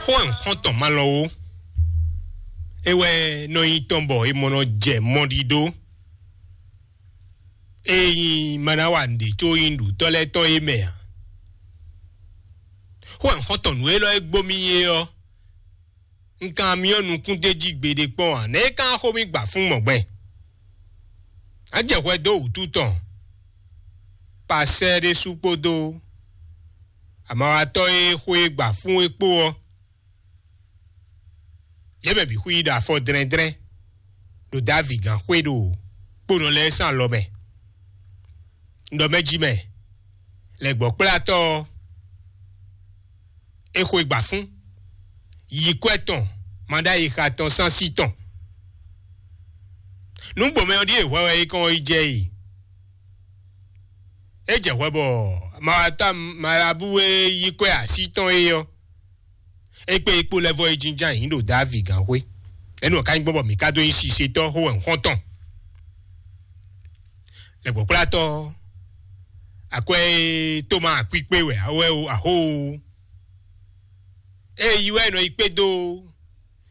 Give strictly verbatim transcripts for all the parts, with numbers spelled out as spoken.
Xó ɛ xɔ́ntɔn malɔ ó. É wɛ nɔ nyi tɔn bɔ è mɔ nɔ jɛ mɔɖiɖó. É nyí ma ná wa nǔɖé có nyí nǔɖutɔ́ lɛ́ɛ tɔn é mɛ ǎ. Xó ɛ xɔ́ntɔn nǔ élɔ́ e gbó mì é ɔ́, un kan myɔ nukún d'é jí gbeɖé kpɔ́n ǎ. Nɛ̌ é ka xó mì gbǎ fún mɔ̌ gbɛn? Á jɛ hwɛ dó wǔtu tɔn. Pasɛ́ ɖésú kpódó amawatɔ́ e xó e gbǎ fún é kpó ɔ́, yě mɛ bǐ xwí ɖo afɔ dlɛ́ndlɛ́n ɖo Davi gǎn xwé ɖo kponɔ lɛ́ɛ sín alɔ mɛ. Un ɖɔ mɛ jí mɛ, lɛ̌gbɔ́kplátɔ́ ɔ́, é xwe gbǎ fún, yi kwɛ́ tɔn, ma ɖó ayixa tɔn sín así tɔn. Nǔgbomɛ ɔ́ ɖíe hwɛ wɛ é kɔn yi jɛ e. É jɛ hwɛ bɔ mawatɔ́ Malabu e yí kwɛ́ así tɔn é ɔ́, é kpé é kpó lɛ́ vɔ é jínjɔ́n ayǐ ɖo Davi gǎn xwé. Énɛ́ ɔ́ ka nyí gbɔn bɔ mǐ ka dó nyí sisetɔ́ xó wɛ xɔ́ntɔn. Lɛ̌gbɔ́kplátɔ́, akwɛ́ e Toma kpíkpé wɛ a wɛ o, aho o. Ée yi wɛ è nɔ yi kpé dó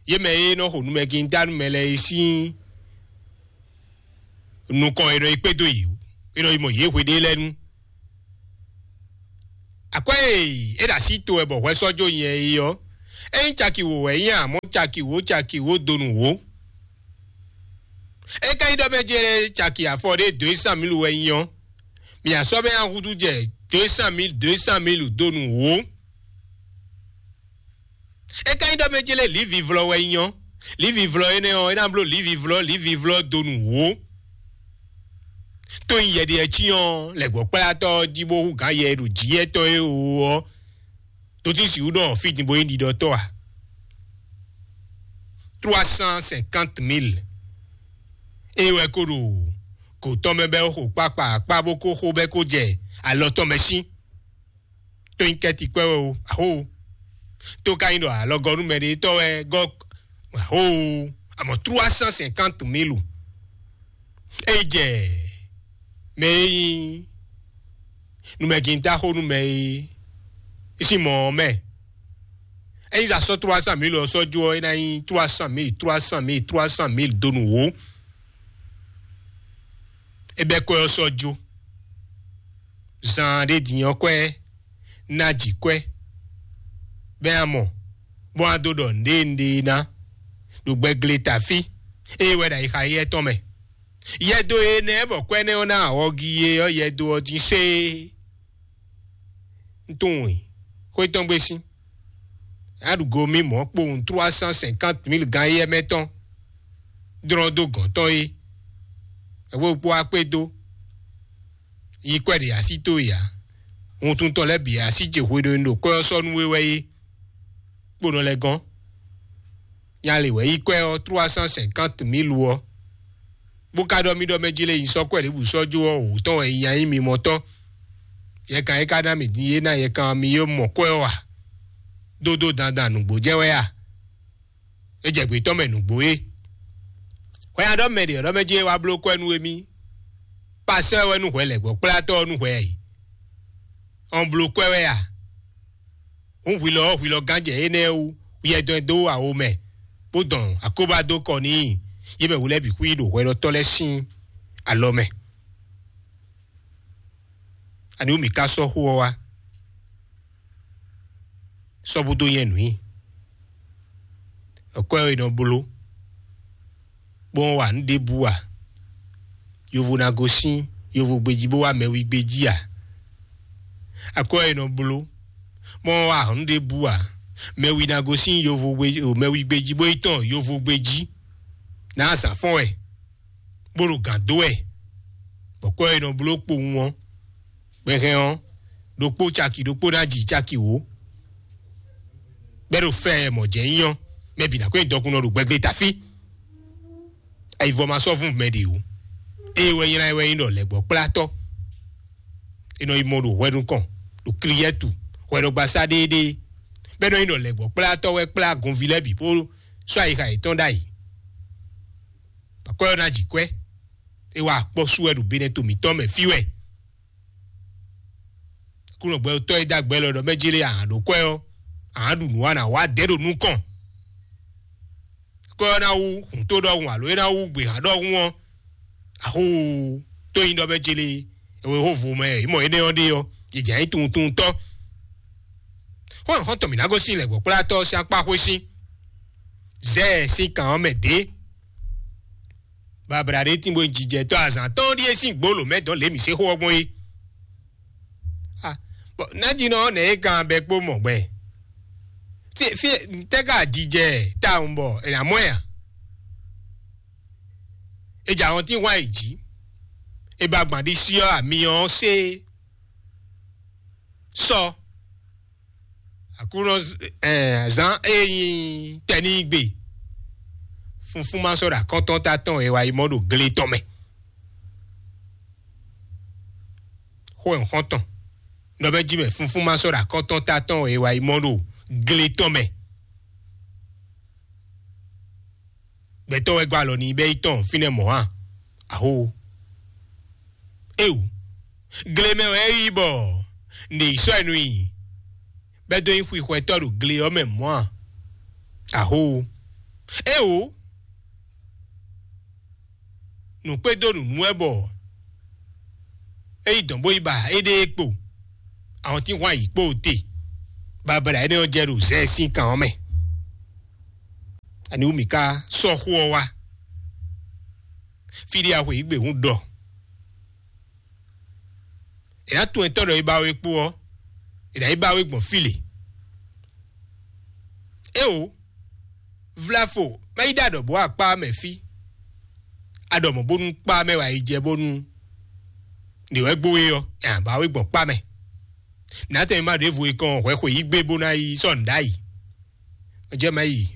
yě mɛ e nɔ xo numɛgintá nú mɛ lɛ́ɛ é sín nukɔn è nɔ yi kpé dó yě, è nɔ yi mɔ yě hweɖé lɛ́ɛ nu. Akwɛ́ e é ɖo así to wɛ bɔ hwɛ sɔ́ jó nyɛ é ɔ́, é nyí caki wǒ wɛ é nyí, amɔ̌ caki wǒ caki wǒ donu wǒ. É ka nyí ɖɔ mɛ jɛ́n caki afɔ ɖé dǒ e sán mǐlu wɛ nyí ɔ́, mǐ asɔ́ mɛ ahúdú jɛ dǒ e sán mǐlu dǒ e sán mǐlu donu wǒ. É ka nyí ɖɔ mɛ jɛ́n lé lǐvivlɔ wɛ nyí ɔ́, lǐvivlɔ énɛ́ ɔ́, é ná bló lǐvivlɔ lǐvivlɔ donu wǒ. Tó nyí yɛɖiɛ cyɔ́n lɛ̌gbɔ́kplátɔ́ ɔ́ jí bó hú gǎn yɛ e ɖo jǐ yɛ́tɔn é o ɔ́, tó tín sixú ɖɔ fí din bó nyí ɖiɖɔtɔ́ a? Trois cent cinquante mille. É wɛ ko ɖo gǒ tɔn mɛ bɛ́ xo kpákpá akpá bó ko xo bɛ́ ko jɛ alɔ tɔn mɛ sín. Tó nyí kɛ́ti kwɛ́ wɛ o, aho. Tó ka nyí ɖɔ alɔgɔ́númɛɖetɔ́ wɛ gɔ́, aho. Amɔ̌ trois cent cinquante mille. É yi jɛ mɛ e nyí numɛgintá xó nú mɛ e sín mɔ ɔ́ mɛ. Ényí zǎn sɔ́ trois cent mille ɔ́ sɔ́ jó ɔ́, é ná nyí trois cent mille, trois cent mille, trois cent mille donu wǒ. É bɛ́ kwɛ́ ɔ́ sɔ́ jó. Zan ɖé din ɔ́ kwɛ́ ná jǐ kwɛ́, bɛ́ a mɔ, bó wá dó ɖɔ nǔɖé nǔɖé ná ɖo gbɛgle tafí, ée wɛ ɖo ayixa éyɛ́ tɔn mɛ. Yɛdo énɛ́ bɔ kwɛ́ nɛ́ ɔ́ ná awɔgi é ɔ́, yɛdo ɔ́ dín séé. Un tunwun i, xwé tɔn gbé sín. Aɖugo mì mɔ̌ kpowun trois cent cinquante mille gán éyɛ́ mɛ tɔn dlɔ́n dó gɔ̌n tɔn é. Ɛwé kpó akpé dó. Yi kwɛ́ ɖe así towe ǎ. Wuntun tɔn lɛ́ɛ bǐ así ce hweɖénu ɖo kwɛ́ ɔ́ sɔ́ nú we wɛ é. Kponɔ lɛ́ɛ gɔ́n. Nya lě wɛ yí kwɛ́ ɔ́ trois cent cinquante mille ɔ́, bó ka ɖɔ mì ɖɔ mɛ jí lé nyi sɔ́ kwɛ́ ɖěbǔ sɔ́ jó ɔ́, wǒ tɔn wɛ nyi nyanyí mimɔ tɔn. Yɛkan e ka ná mì din é ná yɛkan mi yó mɔ kwɛ́ ɔ́ ǎ. Dódó dandan nǔgbó jɛ wɛ a? É jɛ gbětɔ́ mɛ nǔgbó é. Hwɛ nya ɖɔ mɛ ɖě ɔ́ ɖɔ mɛ jí é wá bló kwɛ́ nú émí. Pasɛ́ wɛ nú hwɛ lɛ̌gbɔ́kplátɔ́ ɔ́ nú hwɛ ǎ. Ɔn bló kwɛ́ wɛ a? Hǔn hwilɔ ɔ́ hwilɔ gán jɛ énɛ́ wú, yɛdɔn ɛ dó awo mɛ, bó dɔn akóbá dó kɔ n'i. Yě mɛ wǔ lɛ́ɛ bǐ xwí ɖo hwɛɖɔtɔ́ lɛ́ɛ sín alɔ mɛ. Ani wú mǐ ka sɔ́ xó ɔ́ wá? Sɔ́ bú dó nyɛ nǔ i. Ɛkwɛ́ e nɔ bló bó nɔ́ wa nǔ ɖěbǔ ǎ. Yovo ná gosín yovogbe jí bó wá mɛwi gbe jí ǎ. Akwɛ́ e nɔ bló bó nɔ́ wa nǔ ɖěbǔ ǎ. Mɛwi ná gosín yovogbe, mɛwi gbe jí bó yi tɔn yovogbe jí. Nǎ azǎn fɔ́n wɛ, bó ɖo gǎn dó wɛ, bɔ kwɛ́ e nɔ bló kpowun ɔ́, gbɛhɛn ɔ́, ɖokpó caki ɖokpó ná ji caki wǒ. Bɛ́ ɖo fɛ mɔ̌ jɛ nyí ɔ́, mɛ bǐ ná kó nyi dɔkunnɔ ɖo gbɛglé tafí. Ayivɔ ma sɔ́ vún mɛ ɖě o. Ée wɛ nylá ɛ wɛ nyí ɖɔ lɛ̌gbɔ́kplátɔ́. È nɔ yi mɔ ɖo hwɛ nukɔn, ɖo Kliyɛ́tu, hwɛɖɔgbasá ɖéeɖée. Bɛ́ nɔ nyí ɖɔ lɛ̌gbɔ́kplátɔ́ wɛ kplá gunví lɛ́ɛ bǐ bó sɔ́ ayixa yětɔn ɖ'ayǐ. Akwɛ́ ɔ́ ná ji kwɛ́. É wá akpɔ́ sú wɛ ɖo benɛto mǐtɔn mɛ fí wɛ. Kúnɔ gbɛtɔ́ e dó agbɛ́ lɔ ɖɔ mɛ jí lé ahan ɖó kwɛ́ ɔ́, a nǎ ɖu nǔ a nǎ wá dɛ̌ ɖo nukɔn. Kɔ ɔ́ ná wú hǔn tó ɖɔhun alo é ná wú gběhan ɖɔhun ɔ́, axóo tó nyí ɖɔ bɛ́ célé ewe xó vo mɛ é mɔ énɛ́ ɔ́ ɖe ɔ́, jǐjǎ nyí tunwuntunwuntɔ́. Xó xɔ́ntɔn mǐ ná gosín lɛ̌gbɔ́kplátɔ́ ɔ́ sín akpá xwé sín zɛ́ɛ sín kan ɔ́ mɛ dě. Babla ɖé tín bó nyí jijɛtɔ́ azǎn tɔn ɖíe sín gbǒ lǒ mɛ dɔn lě mǐ se xó ɔ́ gbɔn é. Ah, bɔ nájínɔ ɔ́ nɛ̌ é kan bɛ kpó mɔ gbɛ? Tí fí tɛ́ ka jijɛ tawun bɔ è nǎ mɔ ɛ a? È jɛ ahɔntín hwan yi jǐ. È ba gbǎn ɖisí ɔ́ amyɔ ɔ́ sé sɔ. Aklúnɔ zán e nyí tɛnígbe. Funfún ma sɔ́ ɖo akɔ́ntɔ́ ta tɔn e wá yi mɔ ɖo gle tɔn mɛ. Xó ɛ xɔ́ntɔn nɔ bɛ jí mɛ funfún ma sɔ́ ɖo akɔ́ntɔ́ ta tɔn e wá yi mɔ ɖo gle tɔn mɛ. Gbɛtɔ́ wɛ gɔ́ alɔ n'i bɛ́ yi tɔn fínɛ́ mɔ̌ a? Aho. Éwu. Gle mɛ wɛ é yi bɔ nɖe yi sɔ́ ɛ nú i bɛ́ dó nyí xwixwɛtɔ́ ɖo gle ɔ́ mɛ mɔ̌ a? Aho. Éwu. Nǔkpédó nǔnú wɛ bɔ é yi dɔn bó yi ba éɖée kpo. Ahɔntínhwan yi kpó te. Babala énɛ́ ɔ́ jɛ ɖo zɛ sín kan ɔ́ mɛ. Ani wú mǐ ka sɔ́ xó ɔ́ wá? Fí ɖé axwe yǐ gbe hún ɖɔ. È nǎ tunwun etɔ́ ɖɔ é ba we kpó ɔ́, è nǎ yi ba we gbɔn fí lě. Éwo, vlafo má yi ɖo aɖɔ̌ bó akpá mɛ fí. Aɖɔ̌ mɔ̌ bónú kpá mɛ wá yi jɛ bónú nǐ wɛ gbó é ɔ́, è nǎ ba we gbɔn kpá mɛ. Nǎ tɛn má ɖěvo e kɔn hwɛ xwe yí gbé bó ná yi sɔ́ nǔ ɖ'ayǐ. Jɛ mɛ yi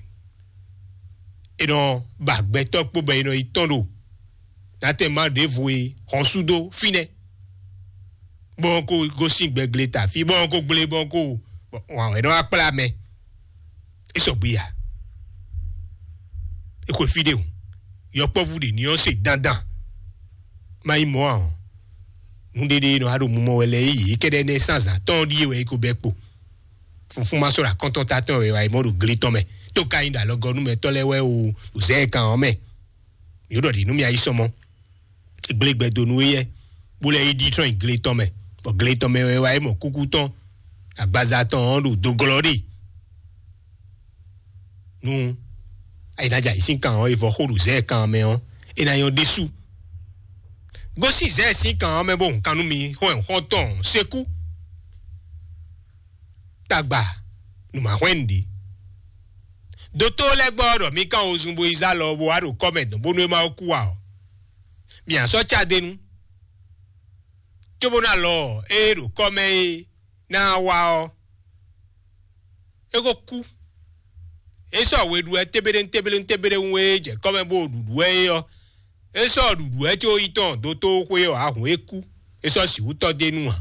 è nɔ ba gbɛtɔ́ kpó bɔ è nɔ yi tɔn ɖo nátɛn má ɖěvo e hɔn sú dó fínɛ́, bɔ ko gosín gbɛgle ta fí bɔ ko gblé bɔ ko wǎn wɛ nɔ wá kplá mɛ. É sɔgbe ya. É xwe fí ɖé o. Yɔkpɔ́vú ɖě ní ɔ́ se dandan. Má nyí mɔ̌ ǎ ɔ́, nǔɖéɖé nɔ wá ɖo mumɔ wɛ lɛ́ɛ yě kɛ́ɖɛ́ nɛ́ sán azǎn tɔn ɖíe wɛ é ko bɛ́ kpo. Funfún ma sɔ́ ɖo akɔ́ntɔ́ ta tɔn wɛ wá yi mɔ ɖo gle tɔn mɛ. Tó ka nyí ɖo alɔgɔnúmɛtɔ́ lɛ́ɛ wɛ o, ɖo zɛ̌ kan ɔ́ mɛ. Yǒ ɖɔ ɖě nú mì ayí sɔmɔ. Gblé gbɛ dó nú éyɛ́, bó lɛ́ yi ɖi trɔ́n yi gle tɔn mɛ, bɔ gle tɔn mɛ wɛ wá yi mɔ kúkú tɔn, agbaza tɔn ɔ́ ɖo dó glɔ́ ɖe. Nú ayǐnájà yě sín kan ɔ́, è vɔ xó ɖo zɛ̌ kan ɔ́ mɛ ɔ́, é ná nyɔ́ ɖésú. Gosín zɛ̌ sín kan ɔ́ mɛ bó hun kan nú mi xɔ́nyɔ́xɔ́ntɔn sekú. Tagba nǔ ma hwɛ́n nǔɖé. Dotó lɛ́ɛ gbɔ ɖɔ mi kán wozun bo yi zá lɔ bo wá ɖo kɔ́ mɛ dɔn bónú é má kú ǎ ɔ́, mi ǎ sɔ́ cá d'é nu, cóbó ná lɔ ɔ́, ée ɖo kɔ́ mɛ é ná wá ɔ́, é ko kú. É sɔ́ we ɖu wɛ tébéɖéŋ tébéɖéŋ tébéɖéŋ e jɛ kɔ́ mɛ bó ɖuɖu wɛ é ɔ́, é sɔ́ ɖuɖu wɛ có yi tɔn dotó xwé ɔ́ ahun é kú. É sɔ́ sixú tɔ́ d'é nu ǎ.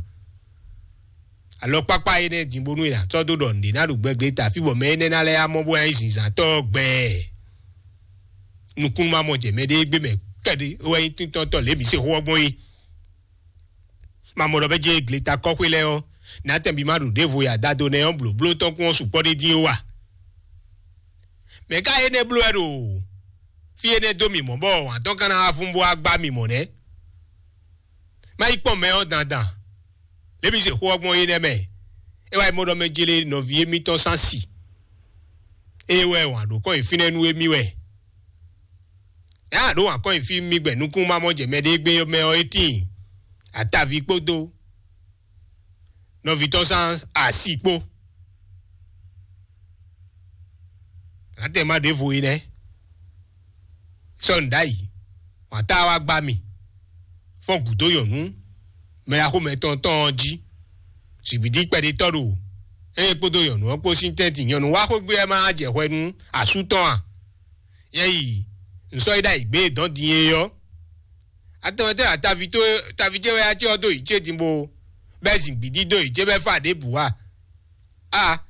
Alɔkpákpá énɛ́ din bónú è nǎ sɔ́ dó ɖɔ nǔɖé ná ɖo gbɛgbɛ ta fí bɔ mɛ énɛ́ ná lɛ́ amɔ bó ná nyí zǐnzántɔ́ gbɛɛ. Nukúnnú ma mɔ jɛ mɛɖée gbé mɛ kɛɖé é wɛ nyí tíntɔ́ntɔ́ lě mǐ se xó ɔ́ gbɔn é. Ma mɔ ɖɔ bɛ́ jɛ gleta kɔ́xwé lɛ́ɛ ɔ́, nǎtɛn bí má ɖo ɖěvo ya dado nɛ́ ɔ́ blǒbló tɔn kún ɔ́ sukpɔ́ ɖé dín ó wa. Mɛ̌ ka énɛ́ bló wɛ ɖo fí énɛ́ dó mì mɔ̌ bɔ wǎn tɔn ka ná wá fún bó wá gbá mì mɔ̌ nɛ́? Má yi kpɔ́n mɛ ɔ́ dandan. Lě mǐ se xó ɔ́ gbɔn é nɛ́ mɛ. É wá yi mɔ ɖɔ mɛ jélé nɔví émítɔn sán si. Ée wɛ wǎn ɖó kɔn nyi fínɛ́ nú émí wɛ. Nya ɖó wǎn kɔn nyi fí mì gbɛ nukún ma mɔ jɛ mɛ ɖé gbé mɛ ɔ́ é tíin. Ataví kpódó nɔví tɔn sán asi kpó. Nǎtɛn má ɖěvo é nɛ́. Sɔ́ nǔ ɖ'ayǐ, wǎn tá wá gbá mì, fɔ́n gǔdo nyɔ̌nu mɛɖaxómɛ tɔn tɔn ɔ́ jí. Zǐgbídí kpɛɖétɔ́ ɖo ée kpódó nyɔ̌nu ɔ́ kpó sín tɛ́ntin. Nyɔ̌nu wá xwé gbé wɛ má jɛ hwɛ nú asú tɔn a? Nyɛ yi, un sɔ́ yi ɖ'ayǐ gbé e dɔ̌n din é ɔ́. Atɔmɛtɔ́ ataví tó taví ce wɛ acé ɔ́ dó yǐ ce din bó bɛ́ zǐgbídí dó yǐ ce bɛ́ fá ɖěbǔ a? A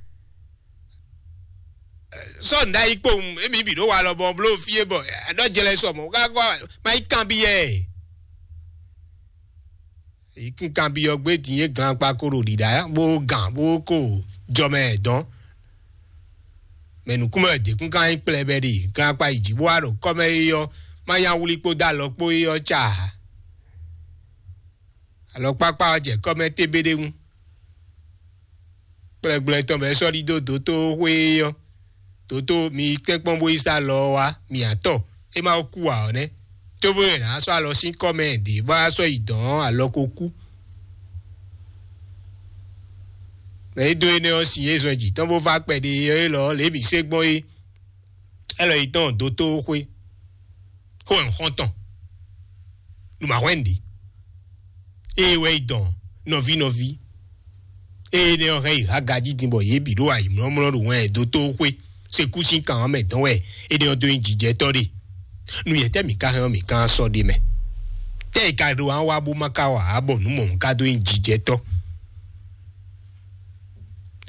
sɔ́ nǔ ɖ'ayǐ kpowun émí bǐ ɖó walɔ bɔ bló fí é bɔ ɖɔ jɛlɛ sɔ mɔ̌ ká gɔ́ má yi kanbyɔ́ ɛ. Yi kún kanbyɔ́ gbé din é glan kpa ko ɖo ɖiɖa bó gǎn bó ko jɔmɛ dɔn. Mɛ nǔkúnmɛ wɛ děkún ka nyí kplɛbɛ ɖe, glakpa yi jǐ bó wá ɖo kɔ́mɛ é ɔ́, má nyá wlí kpódó alɔ kpó é ɔ́ ca ǎ. Alɔkpákpá ɔ́ jɛ kɔ́mɛ tébéɖéŋu. Kplɛgblɛ tɔn bɔ é sɔ́ ɖidó dótóxwé é ɔ́, dótó mi tɛ́nkpɔ́n bó yi sá lɔ ɔ́ wá, mi atɔ é má kú ǎ ɔ́ nɛ́. Cóbó yɛ nǎ sɔ́ alɔ sín kɔ́mɛ ɖě bó wá sɔ́ yi dɔ̌n alɔ ko kú. Mɛ e dó énɛ́ ɔ́ sin é zɔn jǐ tɔn bó vá kpɛɖé ɔ́ élɔ́ lě mǐ se gbɔn é. Ɛlɔ yi tɔn dótóxwé xó ɛ xɔ́ntɔn nǔmahwɛ́nɖi ée wɛ yi dɔn nɔví nɔví ée nɛ ɔ́ hɛn yi hagají din bɔ yě bǐ ɖo ayǐmlɔ́mlɔ́ ɖo wɛn dótóxwé sekú sín kan ɔ́ mɛ dɔn wɛ énɛ́ ɔ́ dó nyí jijɛtɔ́ ɖe. Nu yɛtɛ́ mǐ ka hɛn ɔ́ mǐ ka sɔ́ ɖe mɛ? Tɛ́ è ka ɖo wá wá bó má ka wa ǎ bɔ nǔ mɔ̌hun ka dó nyí jijɛtɔ́?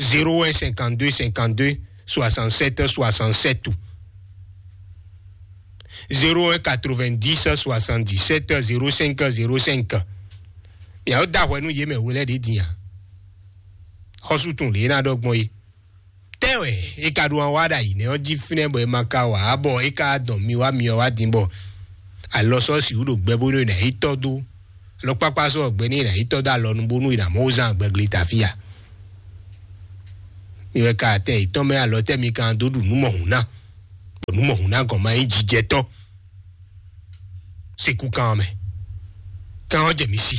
Zéro un cinquante-deux cinquante-deux soixante-sept soixante-sept ou zéro un quatre-vingt-dix soixante-dix-sept zéro cinq zéro cinq. Miawo da hwɛ nú yě mɛ we lɛ́ ɖě din a? Xɔ́sú tun lě ná ɖɔ gbɔn é. Tɛ́ wɛ é ka ɖo wá ɖo ayǐ nɛ́ ɔ́ jí fínɛ́ bɔ é ma ka wǎ bɔ é ka dɔn mi wá mi ɔ́ wá din bɔ alɔ sɔ́ sixú ɖo gbɛ bónú è nǎ yi tɔ́ dó alɔkpákpá sɔ́ gbɛ ní è nǎ yi tɔ́ dó alɔnu bónú è nǎ mɔ wó zán gbɛgble ta fí a? Mi wɛ ka atɛ yětɔn mɛ alɔ tɛ́ mi kan dó ɖu nǔ mɔhun ná, bɔ nǔ mɔhun ná gɔn ma nyí jijɛtɔ́. Sekú kan ɔ́ mɛ, kan ɔ́ jɛ mi sí.